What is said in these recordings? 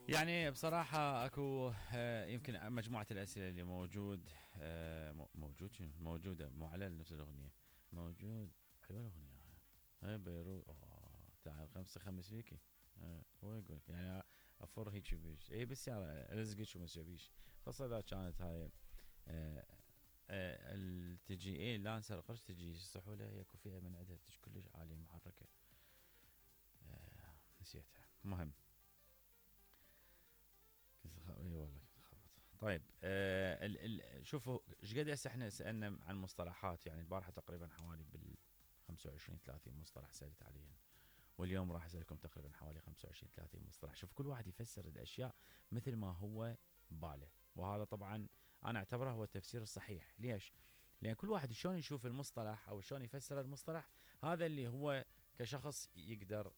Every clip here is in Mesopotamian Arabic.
يعني بصراحة اكو يمكن مجموعة الاسئلة اللي موجود شنو موجودة مو على نفس الاغنية موجود. حلوة الاغنية هاي بيروت تعال خمس فيكي. هو يقول يعني افر هيك بيش اي بالسيارة الزقك شو مسويش خاصة اذا كانت هاي تجي اي لانسر قرش تجي صحولة هي فيها من عندها تجي كلش عالية محركة. نسيتها مهم. اي والله كنت خبط. طيب شوفوا ايش قد هسه احنا سالنا عن مصطلحات يعني البارحه تقريبا حوالي بال 25 30 مصطلح سالت عليهم واليوم راح اسالكم تقريبا حوالي 25 30 مصطلح. شوف كل واحد يفسر الاشياء مثل ما هو باله وهذا طبعا انا اعتبره هو التفسير الصحيح. ليش؟ لان كل واحد شلون يشوف المصطلح او شلون يفسر المصطلح هذا اللي هو كشخص يقدر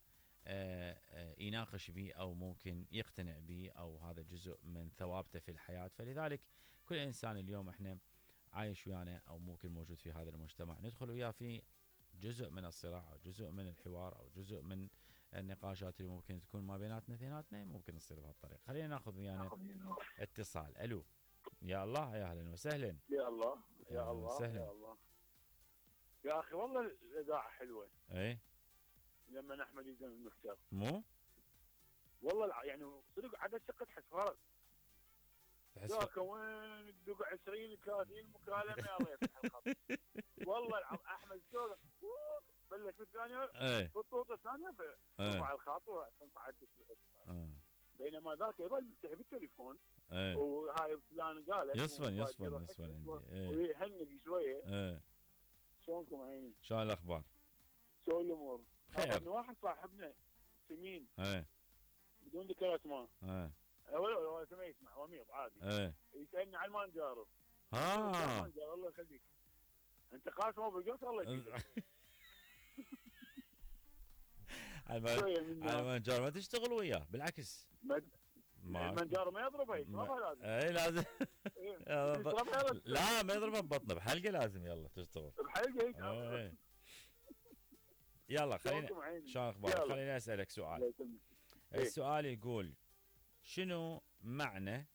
يناقش به او ممكن يقتنع به او هذا جزء من ثوابته في الحياة. فلذلك كل انسان اليوم احنا عايش ويانا او ممكن موجود في هذا المجتمع ندخل وياه في جزء من الصراع او جزء من الحوار او جزء من النقاشات اللي ممكن تكون ما بيناتنا اثنيناتنا ممكن تصير بهالطريقة. خلينا ناخذ ويانا اتصال. الو يا الله يا اهلا وسهلا. يا الله يا يا الله وسهلا. يا الله يا اخي والله الاذاعه حلوه ايه لما احمد يزن المختار مو يعني صدق عدد شقه تحس فرق تحس ذاك وين تدق 20 30 مكالمه الله يفتح الخط والله احمد شلون بلش بالثانيه ايه بالطوطه الثانيه ترفع الخط وتنصعد بينما ذاك يظل مفتح بالتليفون ايه وهاي فلان قال يصفن عندي ايه ويهنق شويه. ايه شلونكم عيني؟ شلون الاخبار؟ شلون الامور؟ خير. واحد صاحبنا سمين ايه بدون ذكر اسماء ايه ولا اسمه يسمع وميض عادي ايه يسالني عن المانجارو. ها الله يخليك انت قاسم بالقص الله يخليك. المانجارو ما تشتغل وياه بالعكس المانجارو ما يضربه يشربها لازم. اي لازم لا ما يضربها ببطنه بحلقه لازم يلا تشتغل بحلقه. يلا خلينا شلون اخبارك؟ خليني اسالك سؤال. السؤال يقول شنو معنى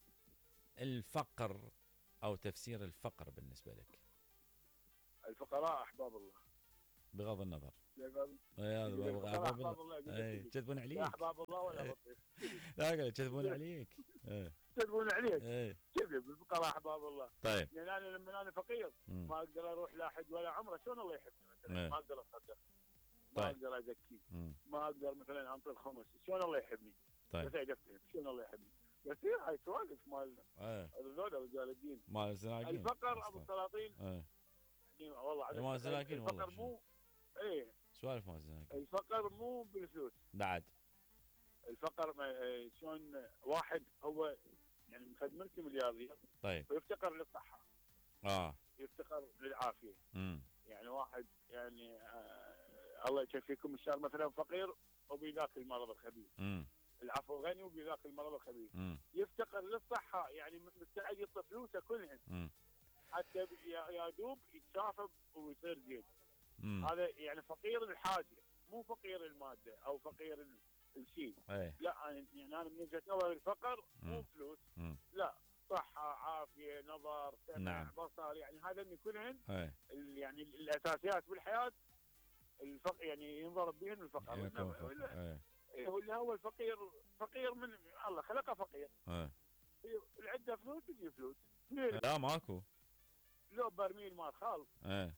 الفقر او تفسير الفقر بالنسبه لك؟ الفقراء احباب الله بغض النظر. احباب الله يكذبون عليك. احباب الله ولا بطيخ. لا يكذبون عليك. يكذبون عليك. كذب الفقراء احباب الله. طيب يعني انا لما انا فقير ما اقدر اروح لا حج ولا عمره شلون الله يحبني مثلا ما اقدر اصدق ما اقدر ازكي ما اقدر مثلا انطي الخمس شلون الله يحبني. طيب بس افتهم شلون الله يحبني بس هاي سوالف مال هذول رجال الدين مال الزناقين. الفقر ابو السلاطين يعني والله مال الزناقين والله الفقر مو ايه سوالف مال الزناقين. الفقر مو بالفلوس بعد الفقر شلون واحد هو يعني ملتي ملياردير طيب ويفتقر للصحه يفتقر للعافيه. يعني واحد يعني الله يكفيكم الشر مثلا فقير وبذاك المرض الخبيث. العفو غني وبذاك المرض الخبيث. يفتقر للصحه يعني مستعد يعطي فلوسه كلهن حتى يا دوب يتشافى ويصير زين. هذا يعني فقير الحاجه مو فقير الماده او فقير الشيء. لا يعني انا من وجهه نظري الفقر مو فلوس لا صحه عافيه نظر سمع نعم. بصر يعني هذا كلهن يعني الاساسيات بالحياه الفقر يعني ينضرب بهن الفقر ولا هو الفقير فقير من الله خلقه فقير. اللي عنده فلوس تجي فلوس لا ماكو لو برميل مال خال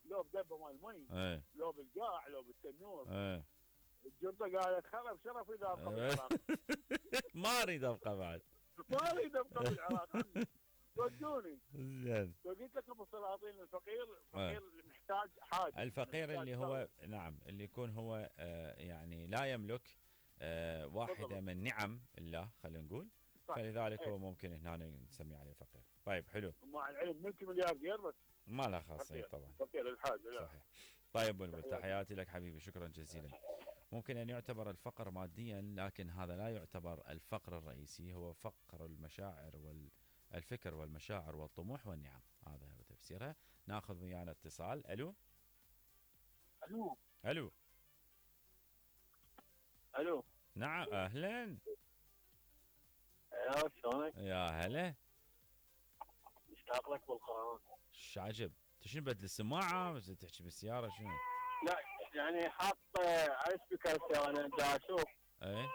لو بدبه مال مي لو بالقاع لو بالتنور الجرطه قالت خرب شرف اذا ابقى بالعراق. ما اريد ابقى بعد ما اريد ابقى بالعراق ودوني زين. قلت لك ابو السلاطين الفقير فقير محتاج حاجه الفقير اللي هو نعم اللي يكون هو يعني لا يملك واحدة من نعم الله خلينا نقول فلذلك هو ممكن هنا نسميه عليه فقير. طيب حلو مع العلم ملتي ملياردير بس ما له خاصية طبعا فقير الحاجة لا صحيح. طيب بلبل تحياتي لك حبيبي شكرا جزيلا. ممكن أن يعتبر الفقر ماديا لكن هذا لا يعتبر الفقر الرئيسي هو فقر المشاعر والفكر والمشاعر والطموح والنعم. هذا هو تفسيرها. ناخذ ويانا اتصال. الو الو الو الو نعم اهلا هلا شلونك؟ يا هلا. مشتاق لك بالقرآن. ايش عجب؟ انت شنو بدل السماعه بس تحكي بالسياره شنو؟ لا يعني حاط على سبيكر السيارة انا دا اشوف. ايه.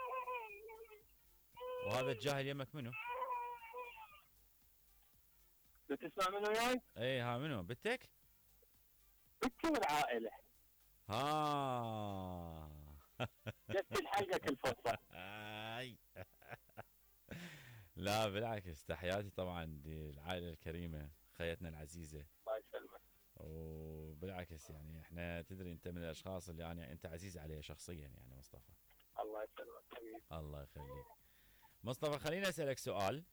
وهذا الجاهل يمك منو؟ بتسمع منه وياي؟ ايه ها منو؟ بنتك؟ بنتي والعائلة. ها. جبت الحلقة كل فترة. لا بالعكس، تحياتي طبعا للعائله الكريمه، خيتنا العزيزه. الله يسلمك. وبالعكس يعني احنا تدري انت من الاشخاص اللي يعني انت عزيز علي شخصيا يعني مصطفى. الله يسلمك حبيبي. الله يخليك. مصطفى خليني اسالك سؤال.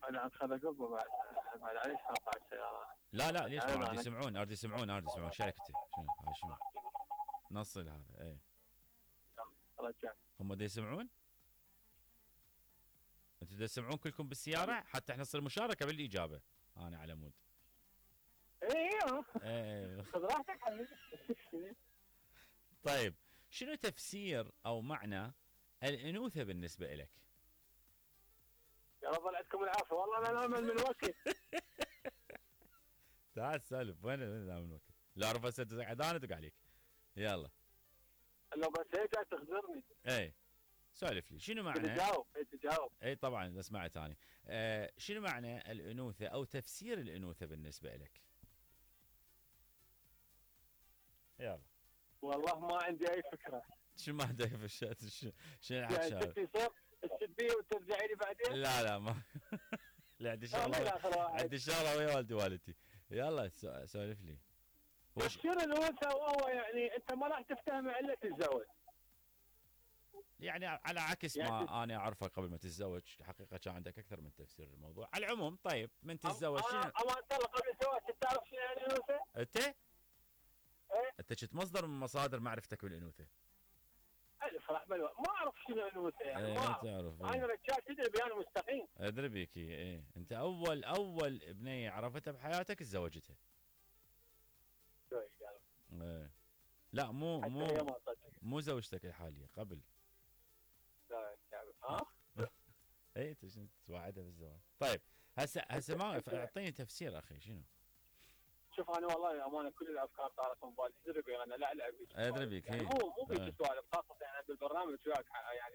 انا عم خلق بعد عليش قاطع السيارة. لا ليش ما ارد يسمعون شركتي شنو هاي شنو؟ نصل هذا ايه. رجع. هم دا يسمعون؟ انتوا دا تسمعون كلكم بالسيارة حتى احنا نصير مشاركة بالإجابة. انا على مود. ايه خذ راحتك حبيبي. طيب شنو تفسير او معنى الانوثة بالنسبة لك؟ يا رب يعطيكم العافية والله انا نامل من وقت. تعال سالف وين نام من وقت؟ لا اعرف هسه انا ادق عليك. يلا. لو بس هيك تخزرني. ايه سالف لي شنو معنى؟ تجاوب. اي طبعا سمعت انا. شنو معنى الانوثة او تفسير الانوثة بالنسبة لك؟ يلا. والله ما عندي اي فكرة. شو ما عندك في الشات شنو الحكي هذا؟ تصير تسبيه وترجعي لي بعدين؟ لا ما لا عندي شغله ويا والدي والدتي. يلا سولف لي. تفسير الانوثة وهو يعني انت ما راح تفتهم الا تتزوج. يعني على عكس يعني ما انا اعرفه قبل ما تتزوج، الحقيقه كان عندك اكثر من تفسير للموضوع. على العموم طيب من تتزوج شنو؟ اما انت قبل الزواج تعرف شنو يعني الانوثة؟ انت؟ ايه؟ انت كنت مصدر من مصادر معرفتك بالانوثه. الف راح ما اعرف شنو الانوثه يعني. ما تعرف. انا رجال تدري بي انا مستقيم. ادري بيك ايه. انت اول بنيه عرفتها بحياتك تزوجتها. ايه. لا مو زوجتك الحاليه قبل. لا ها؟ اي انت شنو توعدها بالزواج؟ طيب هسه ما اعطيني تفسير اخي شنو؟ شوف انا والله امانه كل الافكار صارت من بالي. ادري بي انا لا العب بيك. ادري بيك يعني مو بيك سوالف خاصه يعني بالبرنامج وياك يعني